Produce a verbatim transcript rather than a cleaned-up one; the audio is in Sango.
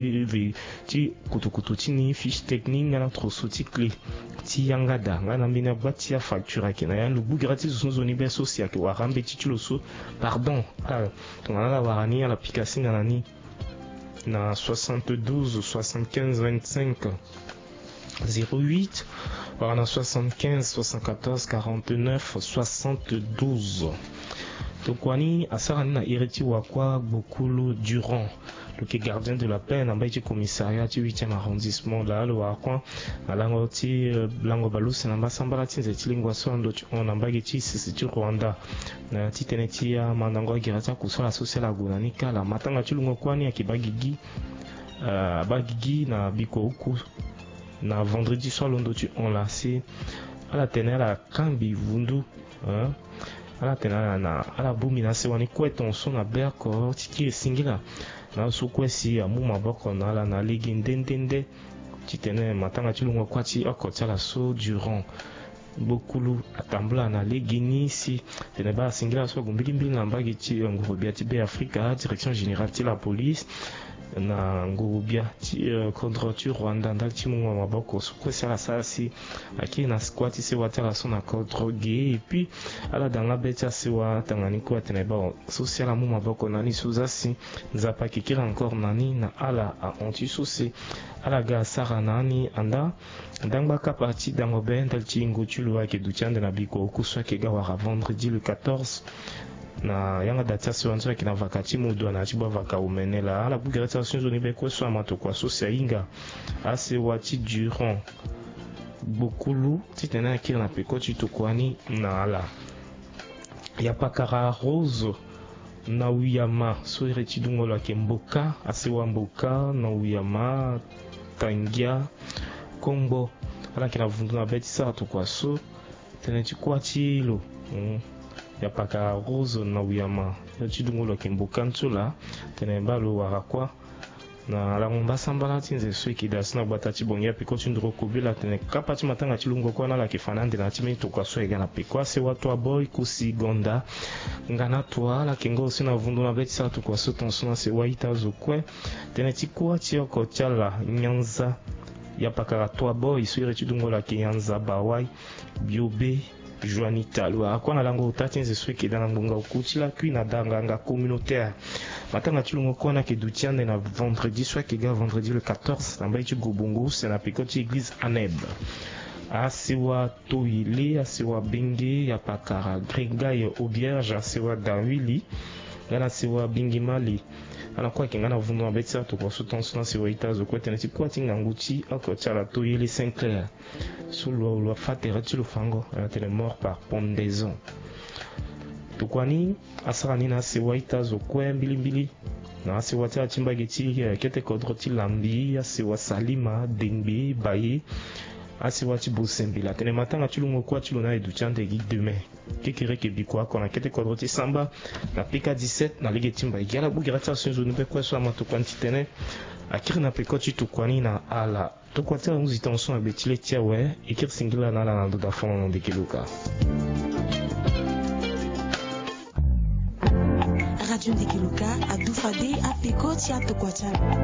ve ti kutukutu ti ni, fiche technique nga na trosso ti clé ti yanga daa nga na mbeni agba ti afacture ayeke na ya. Lo gbu gara ti zo so nzoni be so si ayeke wara mbeti ti lo so. Pardon, ah, tongana ala wara ni ala pika singa na ni na soixante-douze soixante-quinze vingt-cinq zéro huit, wala na soixante-quinze soixante-quatorze quarante-neuf soixante-douze. Tokua ni asara ni na iri ti wakua Gbokulu Durand. Lo yeke gardien de la paix na mbage ti commissariat ti huitième arrondissement. Laa lo wara kuâ na lango ti, eh, lango baleuse na mbasambala ti nze ti lingua so ando ti hon na mbage ti sese ti Rwanda. Na ya ti tënë ti amandango agere ti akusala so si ala gue na ni kâ laa. Matanga ti lungo kuâ ni ayeke baa gigi, eh, abaa gigi na bikua uku na vendredi so alondo ti hon laa si ala tene ala kangbi vundu, hein? Ala tene ala na ala bongbi na sewa ni kue tongaso na be oko ti kiri singila na aso kue si amu maboko na ala na lege nde nde nde. Titene matanga ti lungo kuâ ti oko ti ala so Durand Gbokulu atambula na lege ni si tene baa singila so ague mbilimbili na mbage ti, eh, nguru-gbia ti Beafrika, direction générale ti la police, na nguru-gbia ti, eh, kodro ti Rwanda ndali ti mungo maboko so kue si ala sara si akiri na kuâ ti sewa ti ala so na kodro ge. Et puis ala daa nga be ti asewa tanga ni kue atene baa so si ala mu maboko na ni so zia si Nzapa ayeke kiri encore na ni na ala ahon ti so si ala ga asara na ni anda. Ndangba kapa ti dango be ndali ti yingo ti lo ayeke duti ande na bikua oku so ayeke ga wara vendredi le quatorze. Na yanga da ti asewa ni so ayeke na vaka ti modo na ya ti baa vaka omene laa ala gbu gere ti ala so nzoni be kue so ama tokua so si ahinga asewa ti Durand Gbokulu titene akiri na peko ti tokua ni na ala. Yapakara Rose na Wiyama so iri ti dungo lo ayeke Mboka, asewa Mboka na Wiyama, Tangia, Kongbo. Ala yeke na vundu na be ti sara tokua so tënë ti kuâ ti lo. Hmm. Yapakara Rose na Wiyama, iri ti dungo lo ayeke Mboka ni so laa tene baa lo wara kuâ na lango mbasambala ti nze so eke daa so na gbata ti Bongi apeko ti nduru kobela atene kapa ti matanga ti lungo kuâ ni ala yeke fa na ande na ya ti mbeni tokua so ayeke ga na peko. Asewa Toa Boy, Kosi, Gonda, Ngana Toa, ala yeke ngo aussi na vundu na be ti sara tokua so tongaso na sewa ita zo kue. Tënë ti kuâ ti oko ti ala Nyanza, Yapakara Toa Boy so iri ti dungo lo ayeke Nyanza Bawai, Biobe, Juanita. Lo wara kuâ na lango ota ti nze so eke daa na ngbonga oku ti lakui na daa nganga communautaire. Matanga ti lungo kuâ ni ayeke duti ande na vendredi so ayeke ga vendredi le quatorze na mbage ti Gobongo use na peko ti église Aneb. Asewa Toyele, asewa Benge, Yapakara, Gregaye, Auberge, asewa Dawili, nga na asewa Bingimali. Ala kue ayeke nga na vundu na be ti sara tokua so tongaso na sewa ita zo kue tënë ti kuâ ti ngangu ti oko ti ala Toyele Saint Clair. So lo lo afâ tere ti lo fango ala tene mort par pendaison. Tokua ni asara ni na asewa ita zo kue mbilimbili. Na asewa ti ala ti mbage ti, eh, kete kodro ti Lambi, asewa Salima, Dengbe, Baye, asewa ti Bosembela. Tene matanga ti lungo kuâ ti lo ni aye duti ande gi demain. Kekereke bikua oko na kete kodro ti Samba na P K dix-sept na lege ti mbai gi ala gbu gere ti ala so nzoni be kue so ama tokua ni titene akiri na peko ti tokua ni na ala. Tokua ti ala ahunzi tongaso na gbe ti le ti awe. E kiri singila na ala na ndo daa fo na ndeke luka. Radio Ndeke Luka adu fade apeko ti atokua ti ala.